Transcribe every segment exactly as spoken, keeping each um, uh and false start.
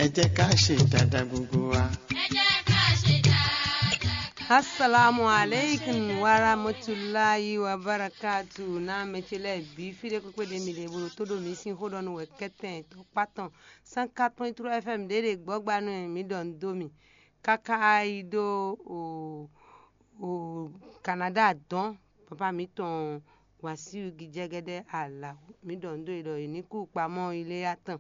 Ẹ jẹ́ ká ṣe dáadáa gbogbo wa. Assalamu alaikum warahmatullahi wabarakatuh. Na mɛ ce lɛ bi fi ɖe kpekpe ɖe mi ɖe bolo to ɖo mi sin xo ɖɔ nu wɛ kɛtɛn to kpatɔn cent quatre point trois F M ɖe ɖe gbɔgba nu mi ɖɔ nu do mi kaka yi ɖo o o Canada dɔn papa mi tɔn Wasiu Gijɛgɛdɛ Alawo mi ɖɔ nu do yi ɖɔ yi ní kú kpamɔ yi lé ya tɔn.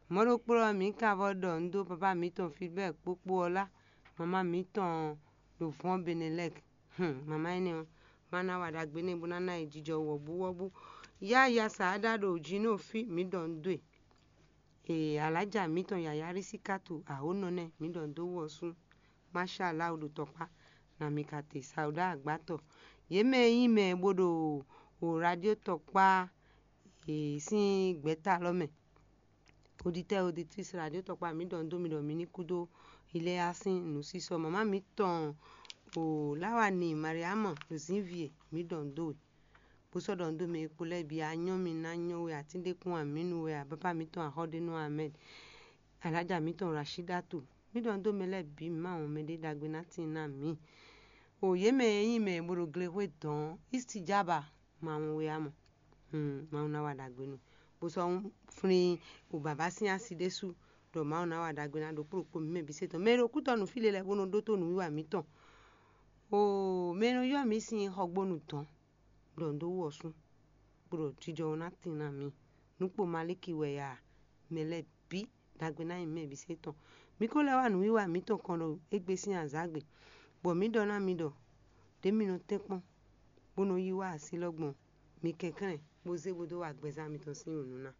Mɔɖokplɔ mi ka vɔ ɖɔ nu do papa mi tɔn Filbert kpokpo ɔ́ lá mama mi tɔn ɖo vɔn Benelek. Hmm, mama énɛ́ ɔ́, má ná wa ɖagbe n'i bó ná ná yi jijɔ wɔ̌búwɔ́bú. Yáya Saada ɖo Jino fí mi ɖɔ nu do e. Ee, alájà mitɔn yǎyá Rísíkátù Awǒnɔnɛ mi ɖɔ nu dó wú ɔ́ sú. Máṣáláwu ɖo tɔkpá na mi ka te Sawuda Agbátɔ. Yě mɛ e nyí mɛ e bó ɖo o radio tɔkpá e sín gbɛ̌ta lɔ mɛ. Oditɛ́ oditrísi radio tɔkpá mi ɖɔ nu dó mi ɖɔ mi ní kúdó Iléa sín nǔsísɔ. Mama mitɔn o Lawani Mariama Zínvie mi ɖɔ nu dó we. Bó sɔ́ ɖɔ nu dó mɛ e kpo lɛ́ɛ bǐ anyɔ́ mi ná nyɔ́ we atíndékún amǐnu wɛ abápá mitɔn Axɔ́ɖénú Ahmed. Alájà mitɔn Rashidatu mi ɖɔ nu dó mɛ lɛ́ɛ bǐ mawun mɛɖé ɖagbe ná tín ná mǐ. O yě mɛ e nyí mɛ e bó ɖo glexwé dɔn Istijaba mawun we amɔ. Hmm, Mawu ná wa ɖagbe nú bó sɔ́ flín o bǎbá sín asi ɖésú ɖɔ Mawu ná wa ɖagbe ná ɖokpó ɖokpó mǐ mɛ bǐ se tɔn. Mɛ e ɖo kútɔ́ nǔ fí lě lɛ́ɛ bó nɔ ɖótó nǔwiwa mǐtɔn. Oo, mɛ e nɔ ylɔ́ mǐ sín xɔgbónu dɔn ɖɔ nǔ dó wú ɔ́ sú, bó ɖɔ jijɔ ɔ́ ná tín ná mǐ. Nǔkpo Malíki wɛ ya mɛ lɛ́ɛ bǐ ɖagbe ná nyi mɛ bǐ se tɔn. Mǐ ko lɛ́ wá nǔwiwa mǐtɔn kɔn ɖo égbé sín azǎgbe, bɔ mǐ ɖɔ ná mi ɖɔ ɖě mi nɔ tɛ́nkpɔ́n, bó nɔ yí wá así lɔ gbɔn mi kɛnklɛ́n bó zé bó dó wa gbɛzán mitɔn sín wǔ nú ná.